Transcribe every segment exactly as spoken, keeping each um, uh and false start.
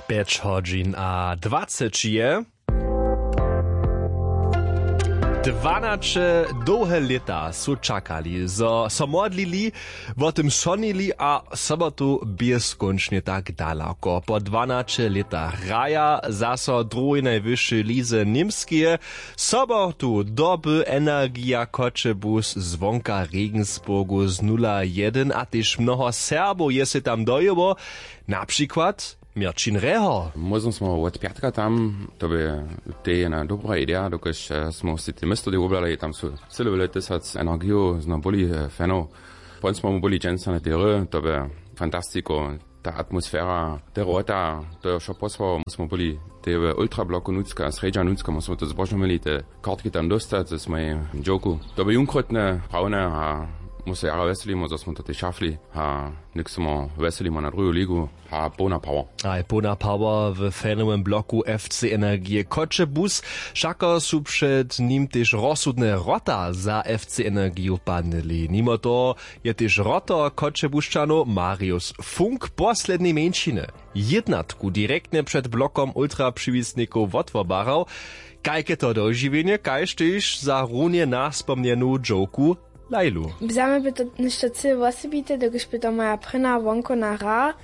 Pjeć hodźin a dwaceći je. Dwanaće dołhe lěta su čakali, zo so modlili, wo tym sonili a sobotu běskónčnje tak daloko. Po dwanaće lětach hraja zaso w druhej najwyšej lize Němskeje sobotu doby Energija Choćebuz zwonka Regensburgu z nula jedyn a tež mnoho Serbow je sej tam dojěło, na přikład Měrćin Rehor. Móžno smo wot pjatka tam, to by tej jedna dobra ideja, dokelž eh, smo si te město tej woblali, tam su cyle wjele tysac energijow zno buli eh, fanow. Pon smo mu buli dźensa na tej hry, to by fantastiko, ta atmosfera, te wrota, to je wšo posłało, my smo buli tej w ultrabloku nutřka, srjedźa nutřka, my smo to zbožno měli, te kortki tam dóstać, ze swojej dźowku. To by junkrótne, prawne a my se jara wjeselimo, zo smo to tej šafli a něk smo wjeselimo na druhu ligu. A połna power. A je połna power w fanowym bloku F C Energije Choćebuz. Wšako su před nim tež rozsudne wrota za F C Energiju padnyli. Nimo toho je tež wrotor Choćebušćanow Marius Funk poslednej mjeńšiny jědnatku direktnje před blokom ultrapřiwisnikow wotwobarał. Kajke to dožiwjenje, kaž tež za runje naspomnjenu dźowku Lailu. Za mnje by to něšto cyle wosebite, dokelž by to moja prěna wonkowna hra.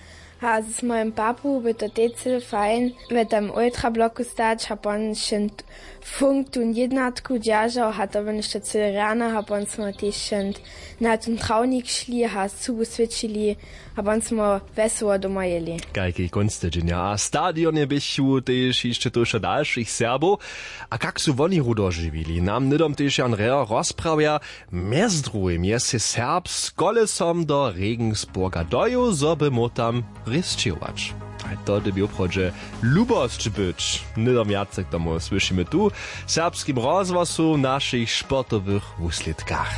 A z mojim papu by to tej cyle fajn w tym ultrabloku stać a pon šent funk tun jědnatku dźeržał a to by něšto cyle rjane a pon smo tež šent na tun trawnik šli a cubu swěćili a pon smo wesoło doma jěli. Kajki kónc tydźenja a stadionje běchu tež hišće tuša dalšich Serbow. A kak su woni ru dožiwili, nam hnydom tež Jan Reher rozprawja. Mjez druhim je sej Serb z kolesom do Regensburga dojěł, zo by móhł tam rěsćěhować. A to dyrbi woprawdźe lubosć być. Hnydom wjace k tomu słyšimy tu w Serbskim rozhłosu w našich sportowych wuslědkach.